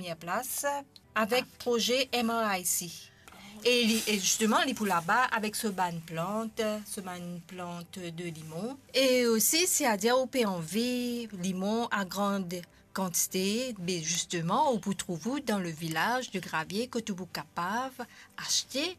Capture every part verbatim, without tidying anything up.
premie plas avek proze M R I C. E li, e zisteman, li pou laba avek so bann plant, so bann plant de limon. E osi, si adir ou pe anvi limon a gran kantite, be zisteman, ou pou trouv ou dan le vilaz de Gravie kot ou pou kapav aste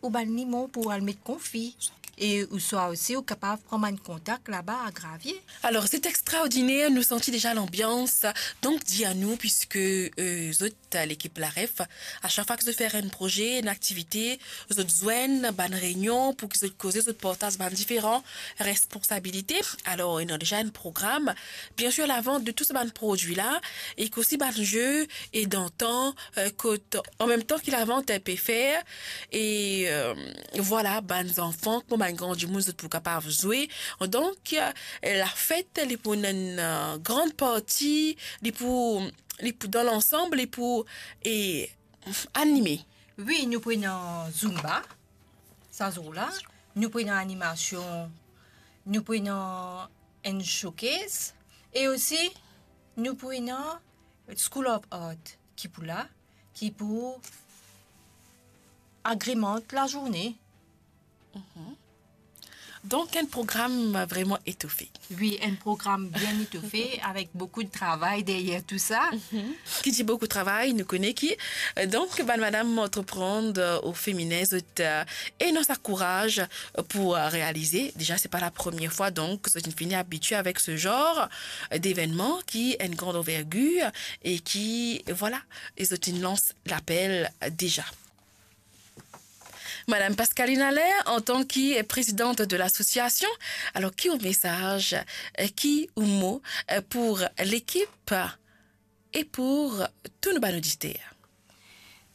ou bann limon pou al met konfi. E ouswa osi, ou kapav pran bann kontak laba a Gravie. Alor, c'est extraordinaire, nou santi deza lanbians. Donk, dir nou, piske, euh, zot, lekip Laref, a sak fwa ki zot fer enn proze, enn aktivite, zot zwenn bann reynion pou ki zot koze, zot partaz bann diferan responsabilite. Alor, ena deza enn program, bien sir, lavant de tou sa bann prodwi la, ek osi bann ze, e dan tan, euh, kot, an mem tan ki lavant pe fer, e, euh, vwala, bann zanfan, kouma bann gran dimoun, zot pou kapav zwe. Donk, euh, lafet, li pou ena enn, euh, gran parti, li pou, li pou, dan lansam, li pou, e, anime. Wi, nou pou ena zumba, sa zour la. Nou pou ena animasion, nou pou ena enn showcase, e osi, nou pou ena School of Art ki pou la, ki pou agremant lazourne. Mhm. Donk, enn program vreman etofe. Wi, enn program bien etofe, avek boukou de travay deryer tou sa. Mhm. Ki dir boukou travay, nou kone ki, euh, donk, bann madam antreprann, euh, o feminen, zot, euh, ena sa kouraz, euh, pou, euh, realize. Deza, se pa la premie fwa, donk, zot inn fini abitie avek se zar, euh, devennman ki enn gran anvergir e ki, vwala, e zot inn lans lapel deza. Madam Pascaline Allaire, antan ki prezidant de lasosiasion, alor ki ou mesaz, ki ou mo, eh, pou lekip e pou tou nou bann oditer?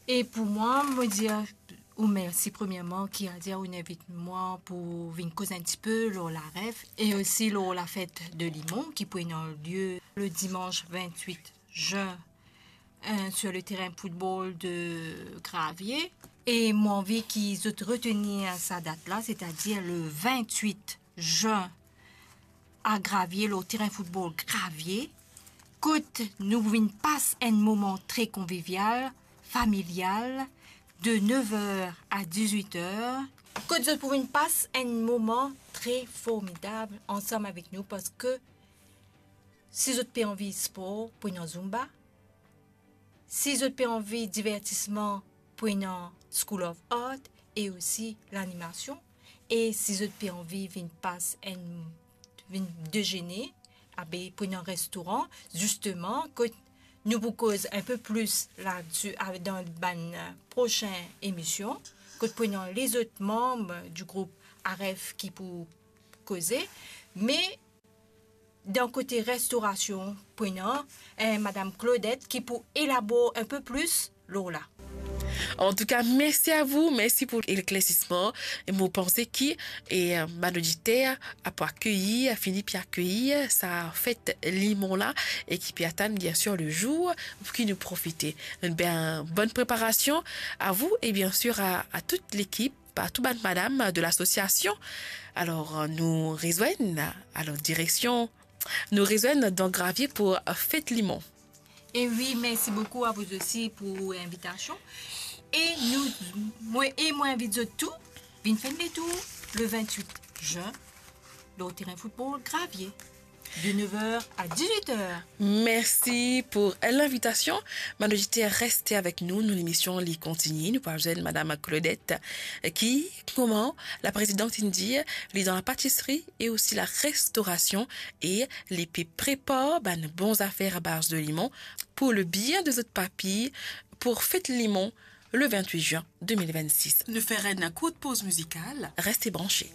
E pou mwa, mo dir ou mersi premierman ki adir ou invit mwa pou vinn koz enn tipe lor Laref e osi lor lafet de limon ki pou ena lie le dimans vintwit zin, euh, sur le terrain football de Gravier. E mo anvi ki zot retenir sa dat la, setadir le vintwit zin a Gravier, lor terin football Gravier, kot nou vinn pas enn moman tre konvivial, familial, de nev er a dizwit er, kot zot pou vinn pas enn moman tre formidab ansam avek nou, parski si zot pe anvi spor, pou ena zumba. Si zot pe anvi divertisman, pou ena School of Art e osi lanimasion. E si zot pe anvi vinn pas enn, vinn dezene, abe pou ena restoran, zisteman, kot nou pou koz enn pe plis ladsi, a, dan bann, euh, prosin emision, kot pou ena lezot manm di group Aref ki pou koze, me dan kote restorasion, pou ena, eh, Madam Claudette ki pou elabor enn pe plis lor la. Antouka, mersi a vou, mersi pou leklersisman. E mo panse ki, e, eh, bann oditer a pou akeyir, fini pe akeyir sa fet limon la, e ki pe atann, bien sir, le zour pou ki nou profite. Enn bien, bonn preparasion a vou e, bien sir, a, a tout lekip, par tou bann madam de lasosiasion. Alor, nou rezwenn, alor, direksion, nou rezwenn dan Gravier pou fet limon. E wi, mersi boukou a vou osi pou invitasion. E nou, mwa, e mo invit zot tou, vinn fer enn letour le vintwit zin, lor terin football Gravier, de nev er a dizwit er. Mersi pou linvitasion. Bann oditer, reste avek nou, nou lemision li kontigne. Nou pou al zwenn Madam Claudette, ki, kouma laprezidant inn dir, li dan lapatisri e osi larestorasion, e li pe prepar bann bon zafer a baz de limon pou le bien de zot papi, pou fet limon le vintwit zin de mil vennsis. Nou fer enn kourt poz mizikal. Reste branche.